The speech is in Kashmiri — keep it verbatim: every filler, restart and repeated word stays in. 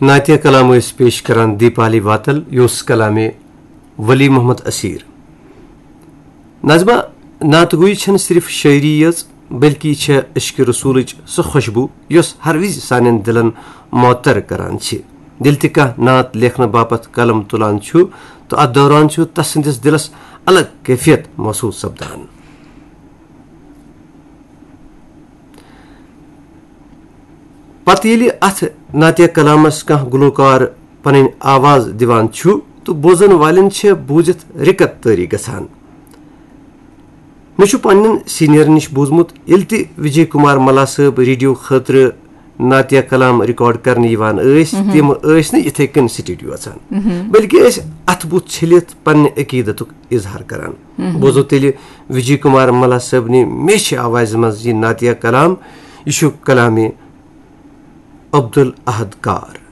نعتیہ کلام ٲسۍ پیش کران دیپالی واتل، یہِ اوس کلامِ ولی محمد اسیر۔ نظمہ، نعت گوئی چھنہٕ صرف شٲعری یٲژ، بلکہ یہِ چھےٚ عشق رسولٕچ سۄ خوشبو یۄس ہر وِزِ سانٮ۪ن دلن معطر کران چھِ۔ ییٚلہِ تہِ کانٛہہ نعت لیکھنہٕ باپتھ قلم تُلان چھُ، تہٕ اتھ دوران چھُ تسٕنٛدِس دلس الگ کیفیت محسوس سپدان۔ پتہٕ ییٚلہِ اتھ نعتیہ کلامس کانٛہہ گلوکار پنٕنۍ آواز دِوان چھُ، تہٕ بوزن والٮ۪ن چھےٚ بوٗزِتھ رِکت طٲری گژھان۔ مےٚ چھُ پننٮ۪ن سینئرن نِش بوٗزمُت، ییٚلہِ تہِ وجے کمار ملا صٲب ریڈیو خٲطرٕ نعتیہ کلام ریکارڈ کرنہٕ یِوان ٲسۍ، تِم ٲسۍ نہٕ یِتھے کٔنۍ سٹوڈیو اژان، بلکہِ ٲسۍ اتھٕ بُتھ چھٔلِتھ پننہِ عقیدتُک اظہار کران۔ بوزو تیٚلہِ وجے کمار ملا صٲبنہِ میچھِ آوازِ منٛز یہِ نعتیہ کلام۔ یہِ چھُ کلامِ عبدالاحد کار۔